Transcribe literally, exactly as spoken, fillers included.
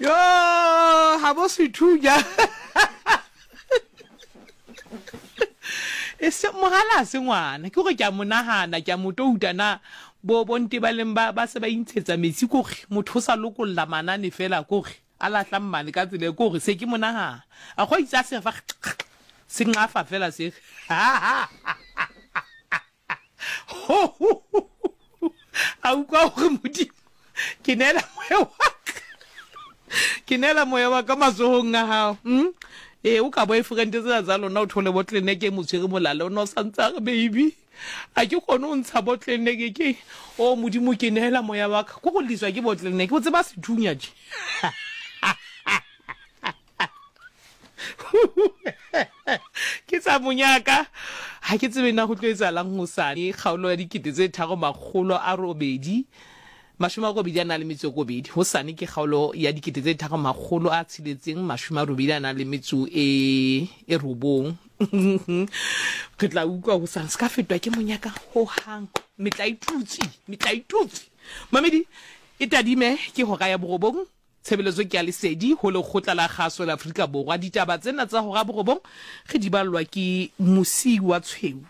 Yo, ga bo sethunya. E se mogala se ngwana, ke gore ke a mo nagana, ke a mo touta na bo bontebaleng ba ba se ba intshetsa metsi kore motho o sa lokolla manane fela kore a lahla mmane ka tsela e kore se ke mo nagana. A go itse a se fa se nqafa fela se. A utlwa gore Modimo ke neela moya wa ka. Ke neela moya wa ka matsohong a hao. Mm? Ee, o ka boyfriend tsena tsa lona o thole bottleneck e mo tshwere molala o ne o santse a re baby a ke kgone ho ntsha bottleneck ke o Modimo ke neela moya wa ka ko go liswa ke bottleneck o tseba sethunya tje. Ke tsa monyaka ha ke tsebe na go tlo etsahalang hosane kgaolo ya dikete tse tharo makgolo a robedi mashome a robedi a nang le metso e robedi. Hosane ke kgaolo ya dikete tse tharo makgolo a tsheletseng mashome a robedi a nang le metso e e robong. Re tla utlwa hosane se ka fetwa ke monyaka hohang. Metla e tutse, metla e tutse. Mamedi e tadime ke hora ya borobong. Tshebeletso ke ya lesedi ho lekgotla la kgaso la Afrika Borwa. Ditaba tsena tsa hora borobong re di ballwa ke Mosiwa Tshweu.